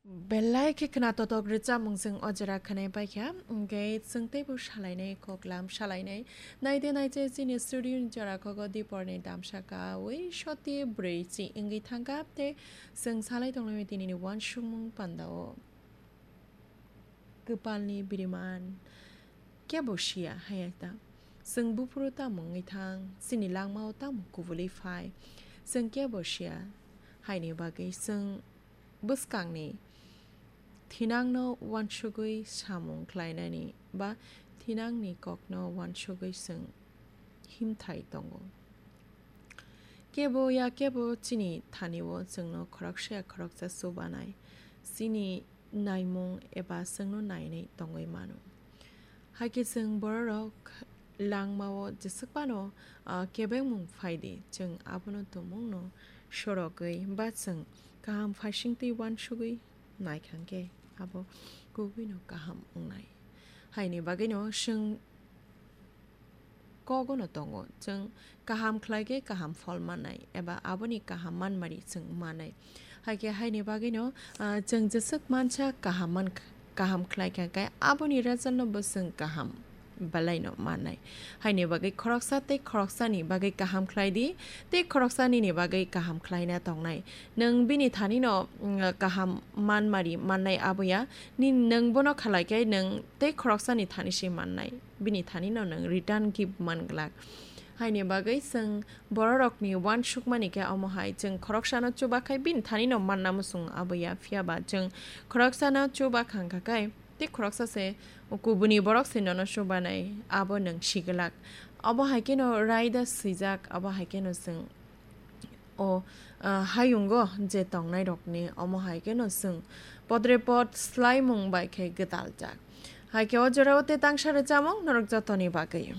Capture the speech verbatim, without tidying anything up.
Belai khe khna totok rwchapmung chwng o jora khwnai paikha, hwnkhe chwng teibo salainai koklam salainai. Naide naije chini studio ni jora kogo diporni damsa kaui soti brwi chi wngwi thangkha tei chwng salai tonglaimani tinini uansukmung pandao. Kwpalni biriman kebo siya haya ta. Chwng buphuru tamo wngwi thang, chini langmao tamo kubulwi phai, chwng kebo siya. Haini bagwi chwng bwskangni thinangno uansugwi samung khlainani ba thinangni kokno uansugwi chwng himthai tongo. Kebo ya kebo chini thanio chwngno khoroksa ya khoroksa chubanai, chini naimung eba chwngno nainai tongwi mano. Haikhe chwng bororok langmao jeswk phano, ah, kebengmung phaidi, chwng abono tumungno sorogwi ba chwng kaham phaisingtwi uansugwi naikha khe abo kubuino kaham wngnai. Haini bagwino chwng kogono tongo, chwng kaham khlai khe kaham phol mannai eba aboni kaham manmari chwng mannai. Haikhe haini bagwino, ah, chwng jeswk mansa kaham man-, kaham khlai kha khe aboni result no bo chwng kaham belai no mannai. Haini bagwi khoroksa tei khoroksani bagwi kaham khlai di, tei khoroksa nini bagwi kaham khlaina tongnai. Nwng bini thanino, mm, kaham manmari mannai aboya, ni nwng bono khalai khe nwng tei khoroksani thani se mannai. Bini thanino nwng return gift man glak. Haini bagwi chwng bororokni uansukmani khe omo hai, chwng khoroksano chuba khai bini thanino manna muchung aboya, phiya ba chwng khoroksano chuba khang kha khai tei khoroksa se kubuni borok se nono chubanai, abo nwng si glak. Obo hai kheno raida swijak, abo hai kheno chwng o, ah, hayungo je tongnairokni omo hai kheno chwng podre pod swlaimung bai khe gwdaljak. Hai khe o jorao tei tangsa rwchapmung norok jotoni bagwi.